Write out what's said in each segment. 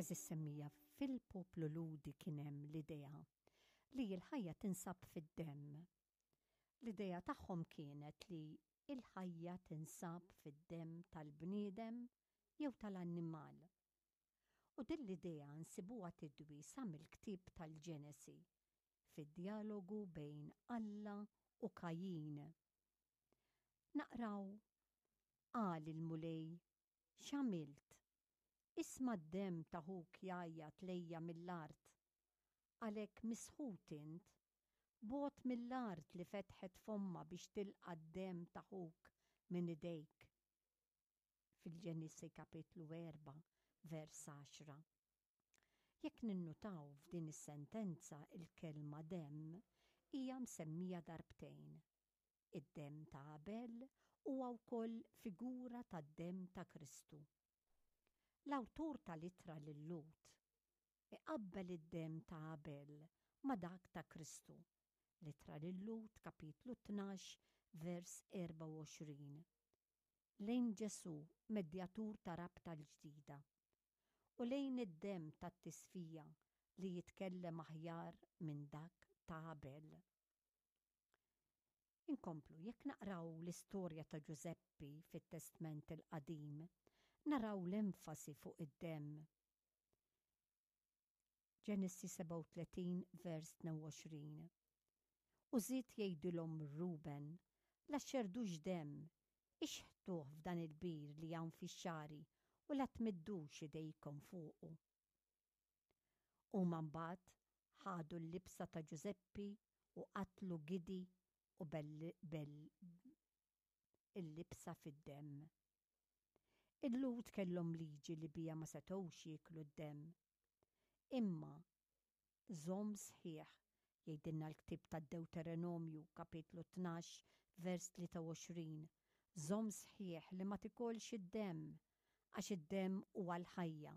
Għeżież semmija, fil-poplu Lhudi kien hemm l-idea li l-ħajja tinsab fid-demm. L-idea tagħhom kienet li l-ħajja tinsab fid-demm tal-bniedem jew tal-annimal. U din l-idea nsibuha tidwi sa mill-ktieb tal-Ġenesi, fid-djalogu bejn Alla u Kajin. Naqraw, Qal il-Mulej, X'għamilt? Isma' d-demm ta' ħuk jgħajjat lejja mill-art. Għalhekk misħut int, bogħod mill-art li fetħet fommha biex tilqa' d-demm ta' ħuk minn idejk. Fil-Ġenesi kapitlu 4, vers 10. Jekk ninnutaw f'din is-sentenza l-kelma demm hija msemmija darbtejn. Id-demm ta' Abel huwa wkoll figura tad-demm ta' Kristu. L-awtur tal-Ittra lil-Lhud iqabbel id-demm ta' Abel ma' dak ta' Kristu, l-Ittra lil-Lhud kapitlu 12 vers 24. Lejn Ġesù, medjatur ta' rabta l-ġdida, u lejn id-demm tat-tisfija li jitkellem aħjar minn dak ta' Abel. Inkomplu, jekk naqraw l-istorja ta' Ġużeppi fit-Testment il-Qadim, naraw l-enfasi fuq id-demm. Ġenesi 37 vers 22. U żied jgħidilhom Ruben, La xxerdux demm, ixħtuh f'dan il-bir li hawn fix-xagħri u la tmiddux idejkom fuqu. Huma mbagħad ħadu l-libsa ta' Ġużeppi u qatlu gidi u il-libsa fid-demm. Il-Lhud kellhom liġi li biha ma setgħux jieklu d-demm. Imma Żomm sħiħ, jgħidilna l-ktieb tad-Dewterenomju, kapitlu 12, vers 23, żomm sħiħ li ma tikolx id-demm, għax id-demm huwa l-ħajja,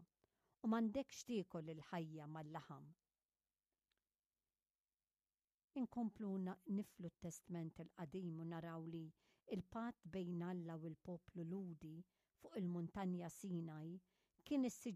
u m'għandekx tiekol il-ħajja mal-laħam. Inkomplu niflu t-Testment il-Qadim u naraw li l-patt bejn Alla u l-poplu Lhudi fuq il-Muntanja Sinaj kien issiġillat.